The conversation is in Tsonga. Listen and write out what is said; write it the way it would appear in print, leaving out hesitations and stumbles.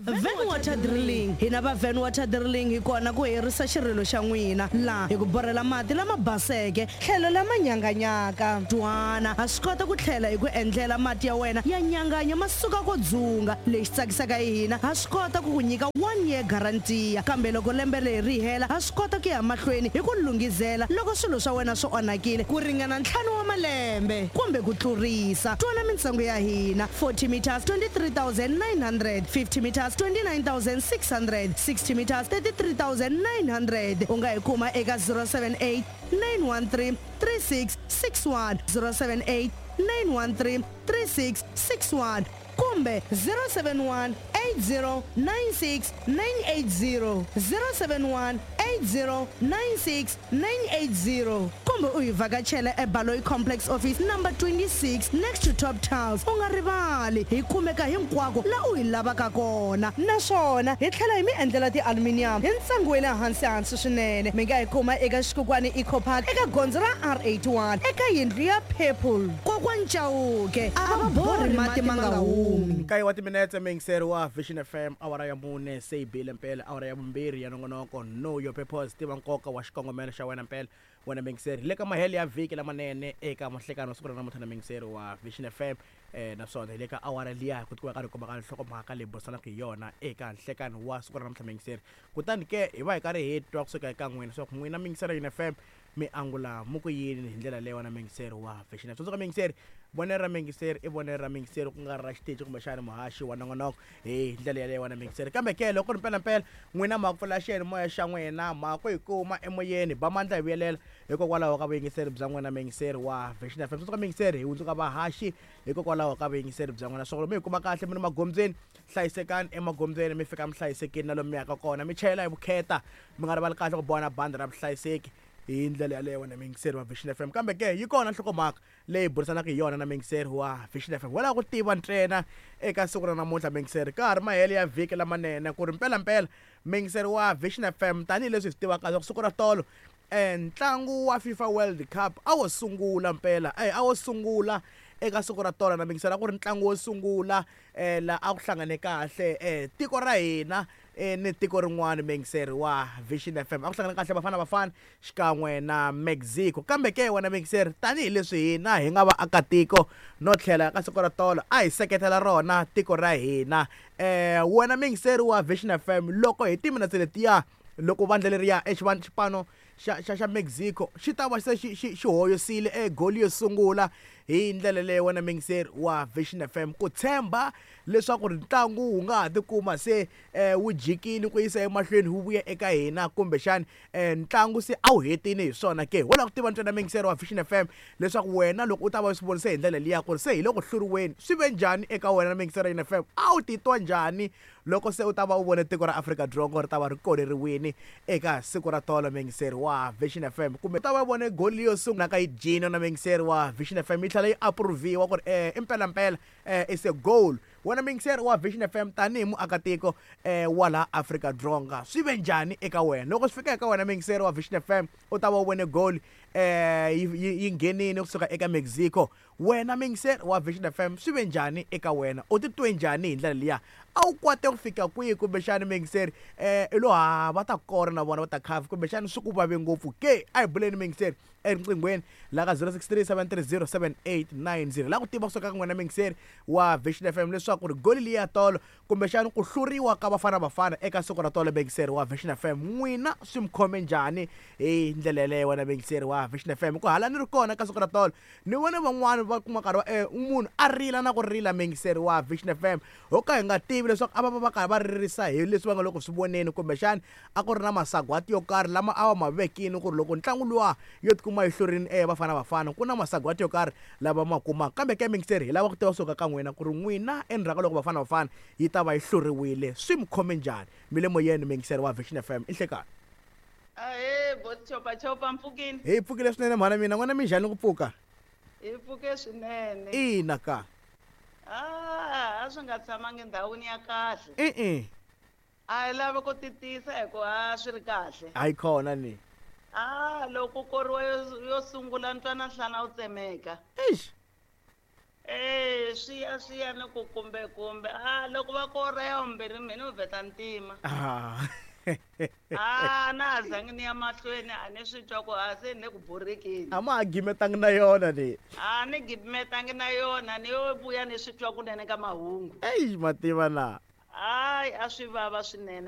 Van Water Drilling. Hina va Van Water Drilling hi kona ku herisa xirilo xa n'wina laha hi ku borhela mati lama baseke tlhelo lama nyanganyaka. Twana, ha swi kota ku tlhela hi ku endlela mati ya wena ya nyanganya ma suka ko dzunga. Lexi tsakisaka hi hina, ha swi kota ku ku nyika one year guarantee, kambe loko lembe leri ri hela ha swi kota ku ya mahlweni hi ku lunghizela loko swilo swa wena swi onhakile ku ringana ntlhanu wa malembe kumbe ku tlurisa. Twana mintsengo ya hina, 40 meters 23,900, 50 meters 29,600, 60 meters 33,900. U nga hi kuma eka 078 913 3661, 078 913 3661 kumbe 071 80 96 980, 071 80 96 980, kumbe u hi vhakachela eBaloyi Complex Office number 26 next to Top Tiles. U nga rivali, hi kumeka hinkwako la u hi lavaka kona, naswona hi tlhela hi mi endlela ti-aluminium hi ntsengo wa le hansi hansi swinene. Mi nga hi kuma eka Xikukwani Eco Park eka gondzo ra R81 eka yindlu ya Purple. Kokwani Chauke a va borhi mati ma nga humi. Nkaye wa timinetse, muyingiseri wa Vision FM, awara ya mune se yi bile mpela, awara ya vumbirhi ya nongonoko Know Your Purpose, tiva nkoka wa xikongomelo xa wena mpela. Wena muyingiseri, hi le ka mahelo ya vhiki lamanene eka mahlekano siku ra namuntlha na muyingiseri wa Vision FM, naswona hi le ka awara liya ku tikiwa karhi kumaka nhlokomhaka leyi burisanaka hi yona eka nhlekano wa siku ra namuntlha muyingiseri. Kutani ke hi va hi karhi hi twa kusuka eka n'wina leswaku n'wina muyingiseri wa Vision FM mi angula mu ku yini hi ndlela leyi wena muyingiseri wa Vision FM. Tsundzuka muyingiseri, vonelo ra muyingiseri i vonelo ra muyingiseri, ku nga ri ra xiteji kumbexana muhaxi wa nongonoko hi ndlela yaleyo wena muyingiseri. Kambe ke loko ku ri mpelampela n'wina ma ku pfula xiyanimoya xa n'wina ma ku hi kuma emoyeni, ba mandla hi vuyelela hikokwalaho ka vuyingiseri bya n'wina muyingiseri wa Vision FM. Tsundzuka muyingiseri, hi hundzuka vahaxi hikokwalaho ka vuyingiseri bya n'wina. Swona mi hi kuma kahle mi ri magondzweni, hlayisekani emagondzweni, mi fika mi hlayisekile na lomu mi yaka kona, mi chayela hi vukheta, mi nga rivali kahle ku boha na bandi ra vuhlayiseki hi ndlela yaleyo wena muyingiseri wa Vision FM. Kambe ke yi kona nhlokomhaka leyi burisanaka hi yona na muyingiseri wa Vision FM. Wo lava ku tiva ntsena eka siku ra namuntlha muyingiseri, ka ha ri mahelo ya vhiki lamanene, ku ri mpelampela muyingiseri wa Vision FM, tanihileswi hi swi tivaka leswaku siku ra tolo ntlangu wa FIFA World Cup a wo sungula mpela, a wo sungula eka siku ra tolo na muyingiseri, a ku ri ntlangu wo sungula la a ku hlangane kahle tiko ra hina ni tiko rin'wana muyingiseri wa Vision FM. A ku hlangane kahle Bafana Bafana xikan'we na Mexico. Kambe ke wena muyingiseri, tanihileswi hina hi nga vaakatiko no tlhela ka siku ra tolo a hi seketela rona tiko ra hina, wena muyingiseri wa Vision FM, loko hi timinetse letiya loko vandla leriya xipano xa xa xa Mexico xi ta va se xi xi xi hoyosile e goli yo sungula hi ndlela leyo wena muyingiseri wa Vision FM, ku tshemba leswaku ri ntlangu wu nga ha tikuma se wu jikile ku yisa emahlweni wu vuya eka hina, kumbexani ntlangu se a wu hetile hi swona ke. Ho lava ku tiva ntsena muyingiseri wa Vision FM leswaku wena loko u ta va u swi vonise hi ndlela liya ku ri se hi le ku hluriweni, swi ve njhani eka wena muyingiseri wa FM, a wu titwa njhani loko se u ta va u vone tiko ra Afrika-Dzonga ri ta va ri koleriwile eka siku ra tolo muyingiseri wa Vision FM, kumbe u ta va u vone goli yo sungula ka yi dyile na muyingiseri wa Vision FM yi tlhela yi approve-iwa ku ri i mpelampela is a goal. Wena muyingiseri wa Vision FM tanihi muakatiko wa laha Afrika-Dzonga, swi ve njhani eka wena loko swi fika eka wena muyingiseri wa Vision FM u ta va u vone goal yi nghenile kusuka eka Mexico? Wena muyingiseri wa Vision FM, swi ve njhani eka wena? U titwe njhani hi ndlela liya? A wu kwate ku fika kwihi kumbexani muyingiseri? I lo ha va ta kora na vona va ta khafa, kumbexani swi ku vave ngopfu ke? A hi buleni muyingiseri eriqinghweni la ka 0637307890. La ku tiva kusuka ka n'wina muyingiseri wa Vision FM leswaku ri goli liya tolo kumbexani ku hluriwa ka Bafana Bafana eka siku ra tolo muyingiseri wa Vision FM, n'wina swi mi khome njhani hi ndlela yeleyo wena muyingiseri wa Vision FM? Ku hala ni ri kona ka siku ra tolo ni vone van'wani va kuma nkarhi wa munhu a rila na ku rila muyingiseri wa Vision FM, ho ka hi nga tivi leswaku a va va va karhi va ririsa hi leswi va nga le ku swi voneni, kumbexani a ku ri na masagwati yo karhi lama a va ma vekile ku ri loko ntlangu luwa yo tikuma yi hlurile Bafana Bafana ku na masagwati yo karhi lava ma kumaka. Kambe ke muyingiseri, hi lava ku tiva kusuka ka n'wina ku ri n'wina endzhaku ka loko Bafana Bafana yi ta va yi hluriwile swi mi khome njhani? Mi le moyeni muyingiseri wa Vision FM, i nhlekani. Ahee, boti Chopa Chopa, mpfukile? Hi pfukile swinene mhana mina, n'wina mi njhani ku pfuka? Hi pfuke swinene. Ina ka. Ah, a swi nga tshamangi ndhawini ya kahle. E-e. A hi lavi ku titisa hi ku a swi ri kahle. Hayi khona ni. Ah, loko ku koriwa yo, yo sungula ntwana nhlana wu tsemeka. Eish. E swi ya swi ya ni ku kumbe kumbe a loko va ku ora ya vumbirhi mina ni vheta ntima. Ah. A na ha zangi ni ya mahlweni, a ni swi twa ku a se ni le ku borekeni. A ma ha gimetangi na yona leyi. A ni gimetangi na yona, ni yo vuya ni swi twa kunene ka mahungu. Eyi, mativa na. Hayi, a swi vava swinene.